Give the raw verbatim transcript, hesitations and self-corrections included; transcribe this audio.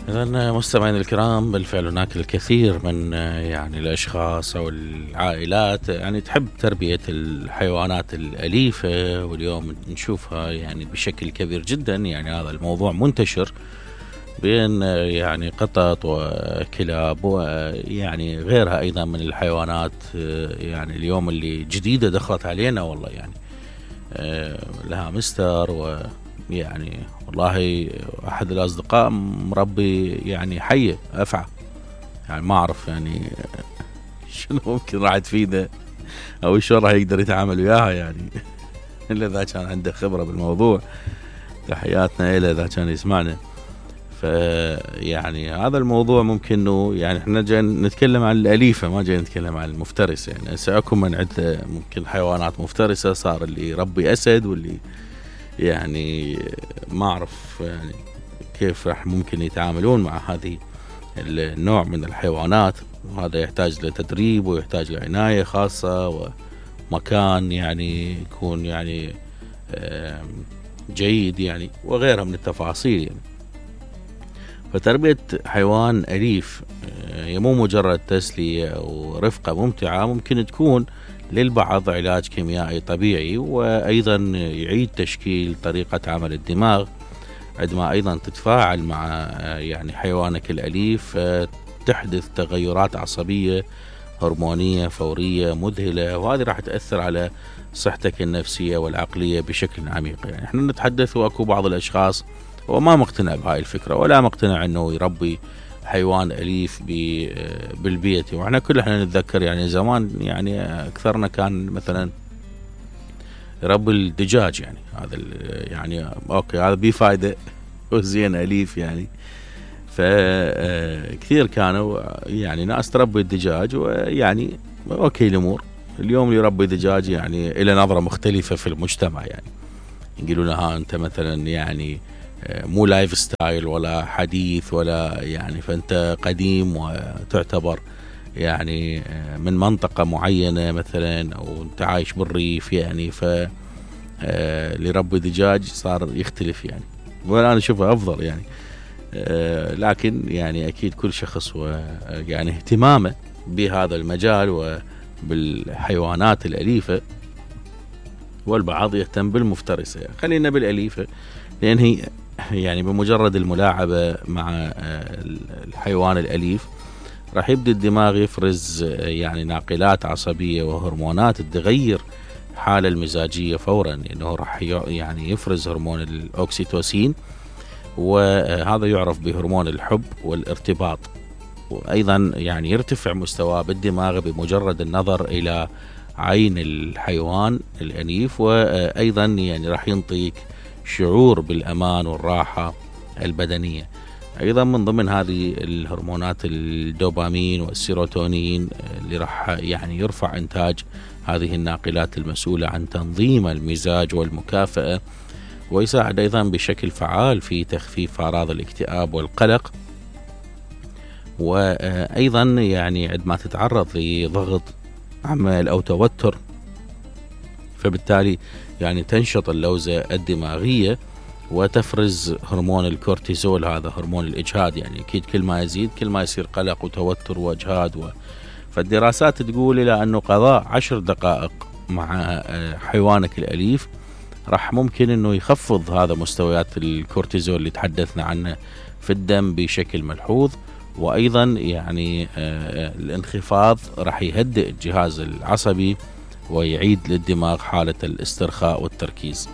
إذن مستمعينا الكرام، بالفعل هناك الكثير من يعني الأشخاص أو العائلات يعني تحب تربية الحيوانات الأليفة، واليوم نشوفها يعني بشكل كبير جدا. يعني هذا الموضوع منتشر بين يعني قطط وكلاب ويعني غيرها أيضا من الحيوانات. يعني اليوم اللي جديدة دخلت علينا والله، يعني لها مستر، و يعني والله أحد الأصدقاء مربي يعني حية أفعى. يعني ما أعرف يعني شنو ممكن راح تفيده أو شو راح يقدر يتعامل وياها، يعني إلا إذا كان عنده خبرة بالموضوع. تحياتنا إلى إذا كان يسمعنا. فيعني هذا الموضوع ممكن إنه يعني إحنا جاي نتكلم عن الأليفة، ما جاي نتكلم عن المفترسة. يعني سأكون من عدة ممكن حيوانات مفترسة، صار اللي يربي أسد، واللي يعني ما أعرف يعني كيف راح ممكن يتعاملون مع هذه النوع من الحيوانات. وهذا يحتاج لتدريب ويحتاج لعناية خاصة ومكان يعني يكون يعني جيد يعني، وغيرها من التفاصيل يعني. فتربية حيوان أليف هي مو مجرد تسلية أو رفقة ممتعة، ممكن تكون للبعض علاج كيميائي طبيعي، وأيضا يعيد تشكيل طريقة عمل الدماغ عندما أيضا تتفاعل مع يعني حيوانك الأليف. تحدث تغيرات عصبية هرمونية فورية مذهلة، وهذه راح تأثر على صحتك النفسية والعقلية بشكل عميق. يعني احنا نتحدث واكو بعض الأشخاص وما مقتنع بهاي الفكرة، ولا مقتنع انه يربي حيوان أليف بالبيت. واحنا كل احنا نتذكر يعني زمان يعني أكثرنا كان مثلا يربي الدجاج. يعني هذا يعني اوكي هذا بيه فايدة وزين أليف يعني. فكثير كانوا يعني ناس تربي الدجاج ويعني اوكي الامور. اليوم اللي يربي دجاج يعني الى نظرة مختلفة في المجتمع، يعني يقولوا ها انت مثلا يعني مو لايف ستايل ولا حديث ولا يعني، فانت قديم وتعتبر يعني من منطقة معينة مثلا، او انت عايش بالريف يعني. ف اللي يربي دجاج صار يختلف يعني، وانا انا اشوفه افضل يعني. لكن يعني اكيد كل شخص ويعني اهتمامه بهذا المجال وبالحيوانات الأليفة، والبعض يهتم بالمفترسة. خلينا بالأليفة، لأن هي يعني بمجرد الملاعبة مع الحيوان الأليف راح يبدأ الدماغ يفرز يعني ناقلات عصبية وهرمونات تغير حالة المزاجية فورا، لأنه راح يعني يفرز هرمون الأوكسيتوسين، وهذا يعرف بهرمون الحب والارتباط. وأيضا يعني يرتفع مستواه بالدماغ بمجرد النظر إلى عين الحيوان الأليف، وأيضا يعني راح ينطيك شعور بالأمان والراحة البدنية. أيضا من ضمن هذه الهرمونات الدوبامين والسيروتونين اللي راح يعني يرفع إنتاج هذه الناقلات المسؤولة عن تنظيم المزاج والمكافأة، ويساعد أيضا بشكل فعال في تخفيف أعراض الاكتئاب والقلق. وأيضا يعني عندما تتعرض لضغط عمل أو توتر، فبالتالي يعني تنشط اللوزة الدماغية وتفرز هرمون الكورتيزول، هذا هرمون الإجهاد. يعني أكيد كل ما يزيد كل ما يصير قلق وتوتر وإجهاد. و... فالدراسات تقول إلى أنه قضاء عشر دقائق مع حيوانك الأليف راح ممكن أنه يخفض هذا مستويات الكورتيزول اللي تحدثنا عنه في الدم بشكل ملحوظ. وأيضا يعني الانخفاض راح يهدئ الجهاز العصبي ويعيد للدماغ حالة الاسترخاء والتركيز.